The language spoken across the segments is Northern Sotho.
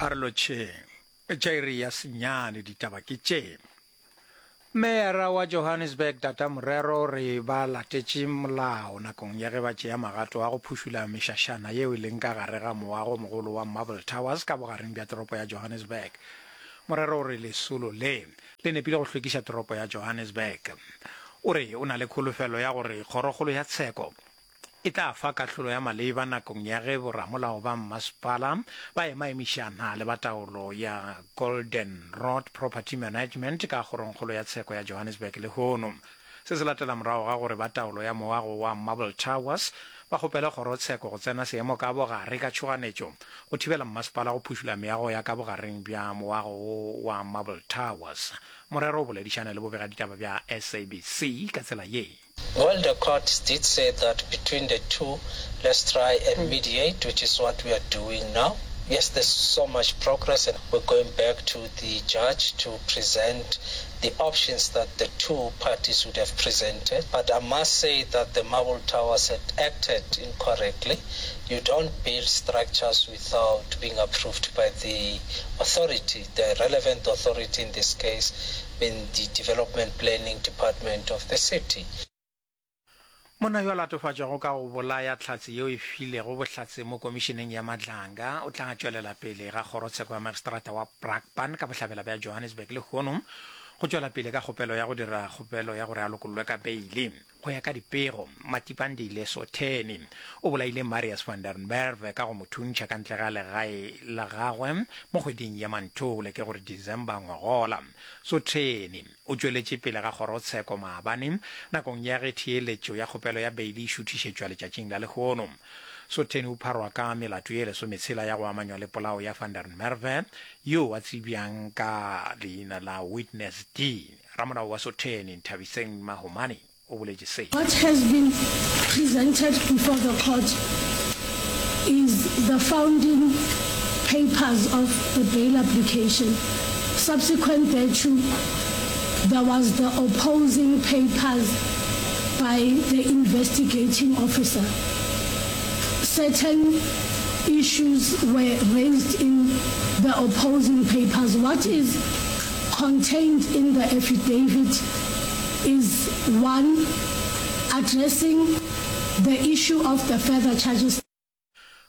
A re lotšheng. Tša iri ya senyane ditaba ke tše. Meyara wa Johannesburg Tata Morero o re ba latetše molao nakong ya ge ba tšea magato a go phušula mešašana yeo e leng ka gare ga moago mogolo wa Marble Towers ka bogareng bja toropo ya Johannesburg. Morero o re lesolo le le nepile go hlwekiša toropo ya Johannesburg. O re o na le kholofelo ya gore kgorokgolo ya tsheko e tla fa kahlolo ya maleba nakong ya ge boramolao ba mmasepala ba emaemišana le ba taolo ya Golden Rod Property Management ka Kgorongkgolo ya Tsheko ya Johannesburg lehono. Se se latela morago ga gore ba taolo ya moago wa Marble Towers ba kgopele kgorotsheko go tsena seemo ka bogare ka tšhoganetšo go thibela mmasepala go phušula meago ya ka bogareng bja moago wo wa Marble Towers. Morero o boledišane le bobegaditaba bja SABC ka tsela ye. Well, the court did say that between the two, let's try and mediate, which is what we are doing now. Yes, there's so much progress, and we're going back to the judge to present the options that the two parties would have presented. But I must say that the Marble Towers had acted incorrectly. You don't build structures without being approved by the authority, the relevant authority in this case being the Development Planning Department of the city. Monna yo a latofatšwago ka go bolaya hlatse yeo e filego bohlatse mo komišeneng ya Madlanga o tla tšwelela pele ga kgorotsheko ya magistrata wa Brakpan ka bohlabela bja Johannesburg lehono go tšwela pele ka kgopelo ya go dira kgopelo ya gore a lokollwe ka beile. Go ya ka dipego, Matipandile Sotheni o bolaile Marius van der Merwe ka go mo thuntšha ka ntle ga legae la gagwe mo kgweding ya Manthole, ke gore December ngwagola. Sotheni o tšweletše pele ga kgorotsheko maabane nakong ya ge theeletšo ya kgopelo ya beili e šuthišetšwa letšatšing la lehono. Sotheni o pharwa ka melato ye lesometshela ya go amanywa le polao ya van der Merwe, yoo a tsebjang ka leina la Witness D. Ramolao wa Sotheni, Nthabiseng Mahomane, o boletše se. What has been presented before the court is the founding papers of the bail application. Subsequent thereto, there was the opposing papers by the investigating officer. Certain issues were raised in the opposing papers. What is Contained in the affidavit is one addressing the issue of the further charges.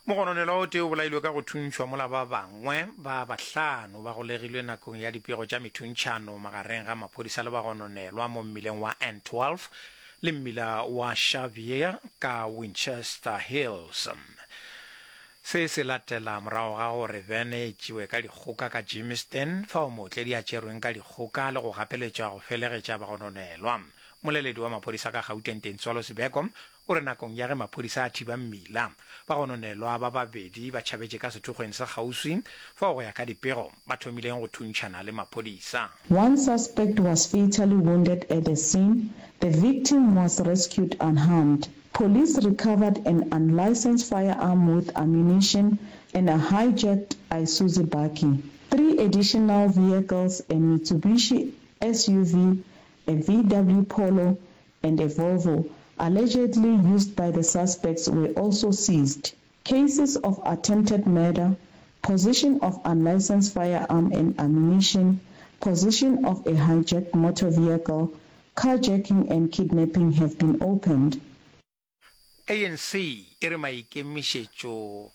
Mogononelwa o tee o bolailwe ka go thuntšhwa mola ba bangwe ba bahlano ba golegilwe nakong ya dipego tša methuntšhano magareng ga maphodisa le bagononelwa mo mmileng wa N12 le mmila wa Xavier ka Winchester Hills. Se se latela morago ga gore bene e tšewe ka dikgoka ka Germiston, fao mootledi a tšerweng ka dikgoka le go gapeletšwa go felegetša bagononelwa. Mmoleledi wa maphodisa ka Gauteng Tintswalo Sibeko o re nakong ya ge maphodisa a thiba mmila, bagononelwa ba babedi ba tšhabetše ka sethokgweng sa kgauswi, fao go ya ka dipego ba thomileng go thuntšhana le maphodisa. One suspect was fatally wounded at the scene, the victim was rescued unharmed. Police recovered an unlicensed firearm with ammunition and a hijacked Isuzu bakkie. Three additional vehicles, a Mitsubishi SUV, a VW Polo and a Volvo, allegedly used by the suspects were also seized. Cases of attempted murder, possession of unlicensed firearm and ammunition, possession of a hijacked motor vehicle, carjacking and kidnapping have been opened. ANC e re maikemišetšo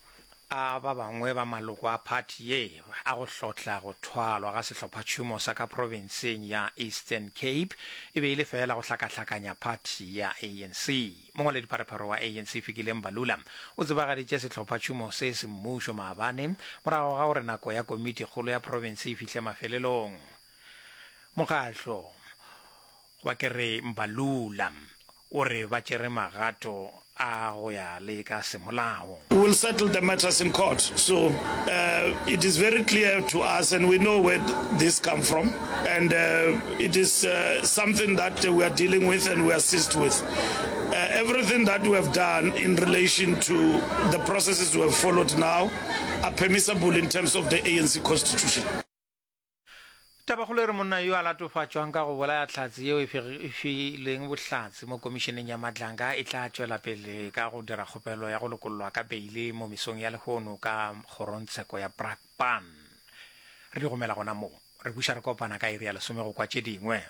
a ba bangwe ba maloko a phathi ye a go hlotla go thwalwa ga sehlophatšhomo sa ka profenseng ya Eastern Cape e be e le feela go hlakahlakanya phathi ya ANC. Mongwaledipharephare wa ANC Fikile Mbalula o tsebagaditše sehlophatšhomo se semmušo maabane morago ga gore nako ya komitikgolo ya profense e fihle mafelelong. Mokgahlo goba ke re Mbalula o re ba tšere magato a go ya le ka semolao. We will settle the matters in court. So uh, it is very clear to us and we know where this come from and uh, it is uh, something that we are dealing with and we assist with. Uh, everything that we have done in relation to the processes we have followed now are permissible in terms of the ANC constitution. Tabakgolo e re monna yo a latofatšwang ka go bolaya hlatse yeo e fileng bohlatse mo komišeneng ya Madlanga e tla tšwela pele ka go dira kgopelo ya go lokollwa ka beile mo mesong ya lehono ka kgorongtsheko ya Brakpan. Re di gomela gona moo. Re buša re kopana ka iri ya lesome go kwa tše dingwe.